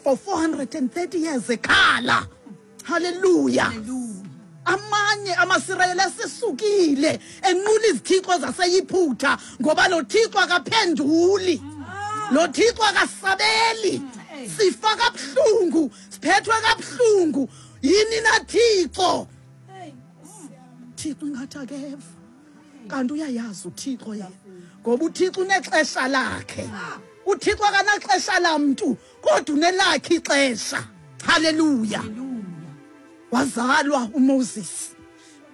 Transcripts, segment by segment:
For 430 years ekhala. Haleluya. Amanye amaSirayeli asesukile enqula izithixo zaseYiphutha ngoba lo Thixo akaphenduli. Lo Thixo akasabeli. Sifa kabuhlungu, siphethwe kabuhlungu. Yini na Thixo? Thixo ingathi akeva. Kanti uyayazi uThixo yena. Ngoba uThixo unexesha lakhe. UThixo akanaxesha lamntu kodwa unelakhe ixesha. Haleluya. Wazalwa uMoses.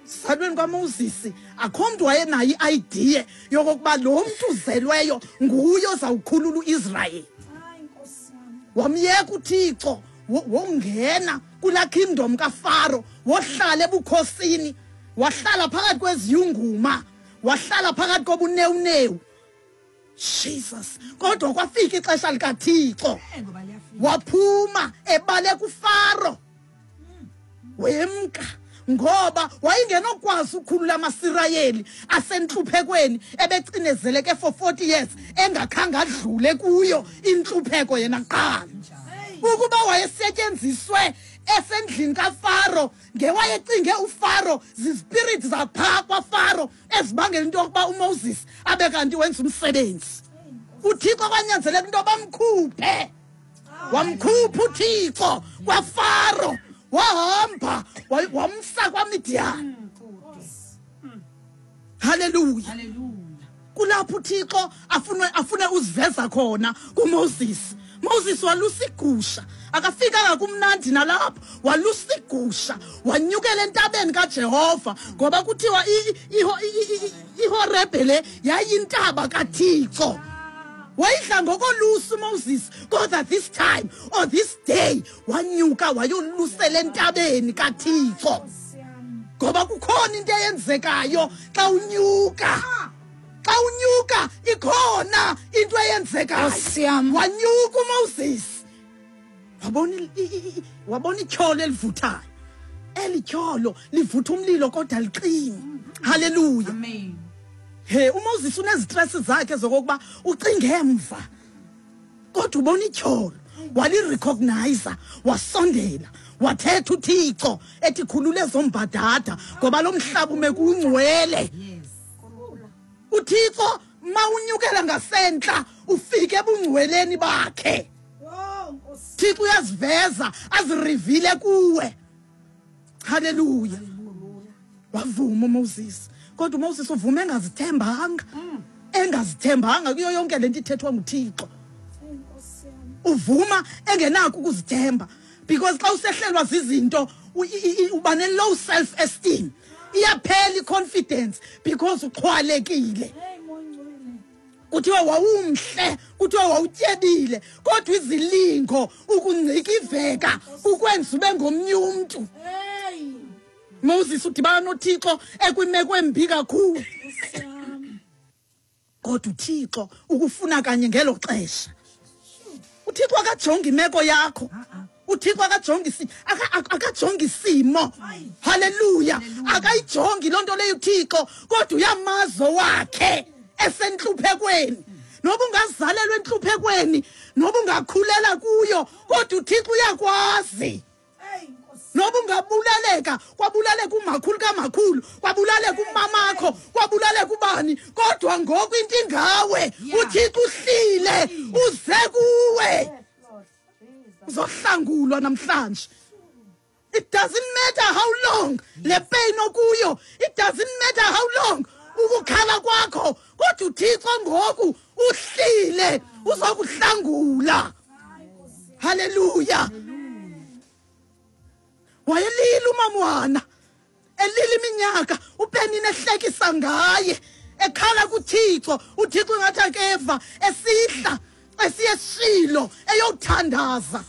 Salweni kwaMoses akho mntu wayenayo i-idea yokokuba lo mntu uzelweyo nguye ozawukhulula uIsrayeli. Wamyeka uThixo wongena kulaa kingdom kaFaro, wohlala ebukhosini, wahlala phakathi kweziyunguma, wahlala phakathi kobunewunewu. Jesus, kodwa kwafika ixesha likaThixo, waphuma ebaleka uFaro, wemka ngoba wayengenokwazi ukukhulula amaSirayeli asentluphekweni ebecinezeleke for 40 years engakhange adlule kuyo intlupheko yena kuqala. Ukuba wayesetyenziswe esendlini kaFaro, ngewayecinge uFaro zizipiriti zaphaa kwaFaro ezibangela into yokuba uMoses abe kanti wenza umsebenzi. UThixo kwanyanzeleka into bamkhuphe, wamkhupha uThixo kwaFaro, wahamba wamsa kwaMidiyani. Haleluya. Kulapho uThixo afune uziveza khona kuMoses. Moses walusa igusha, akafikanga kumnandi nalapho, walusa igusha, wanyukela entabeni kaJehova, ngoba kuthiwa iHorebe le yayintaba kaThixo. Wayidla ngokolusa uMoses, kodwa this time or this day wanyuka wayolusela entabeni kaThixo, ngoba kukhona into eyenzekayo xa unyuka. Xa unyuka ikhona into eyenzekayo. Wanyuka uMoses, wabona ityholo elivuthayo. Eli tyholo livutha umlilo kodwa liqini. Haleluya. Amen. He, uMoses unezistress zakhe zokokuba ucinge emva, kodwa ubona ityholo, walirecognize, wasondela, wathetha uThixo ethi khulule ezombadada ngoba lo mhlaba ume kungcwele. UThixo mawunyukela ngasentla ufike ebungcweleni bakhe. Thixo uyaziveza azirivile kuwe. Haleluya. Wavuma uMoses, kodwa uMoses uvume engazithembanga, engazithembanga kuyo yonke lento ithethwa nguThixo. Uvuma engenakho ukuzithemba, because xa usehlelwa zizinto uba ne low self esteem, iyaphela i-confidence because uxhwalekile. Kuthiwa wawumhle, kuthiwa wawutyebile, kodwa izilingo ukungcikiveka ukwenza ube ngomnye umntu. Moses udibana noThixo ekwimeko embi kakhulu, kodwa uThixo ukufuna kanye ngelo xesha. uThixo akajongi imeko yakho, uThixo akajongi isimo. Haleluya. Akayijongi loo nto leyo uThixo, kodwa uyamazi wakhe esentluphekweni. Noba ungazalelwa entluphekweni, noba ungakhulela kuyo, kodwa uThixo uyakwazi. Noba ungabulaleka, kwabulaleka umakhulu kamakhulu, kwabulaleka umamakho, kwabulaleka ubani, kodwa ngoku into ingawe, uThixo uhlile uze kuwe, uzohlangulwa namhlanje. It doesn't matter how long le pain okuyo, it doesn't matter how long ukukhala kwakho, kodwa uThixo ngoku uhlile uzokuhlangula. Haleluya. Wayelila umamwana, elila iminyaka, uPenina ehlekisa ngaye, ekhala kuThixo, uThixo ngathi akeva, esihla esiyesilo eyothandaza.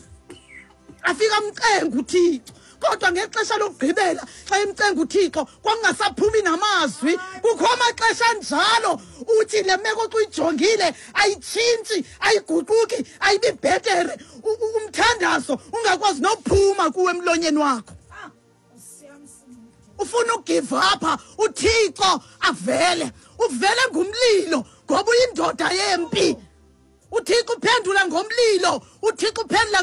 Afika amcenga uThixo, kodwa ngexesha lokugqibela xa emcenga uThixo kwakungasaphumi namazwi. Kukho amaxesha anjalo uthi le meko xa uyijongile ayitshintshi, ayiguquki, ayibi bhetere, umthandazo ungakwazi nophuma kuwe emlonyeni wakho. Ufuna ugive up, uThixo avele, uvele ngumlilo ngoba uyindoda yempi. uThixo uphendula ngomlilo, uThixo uphendula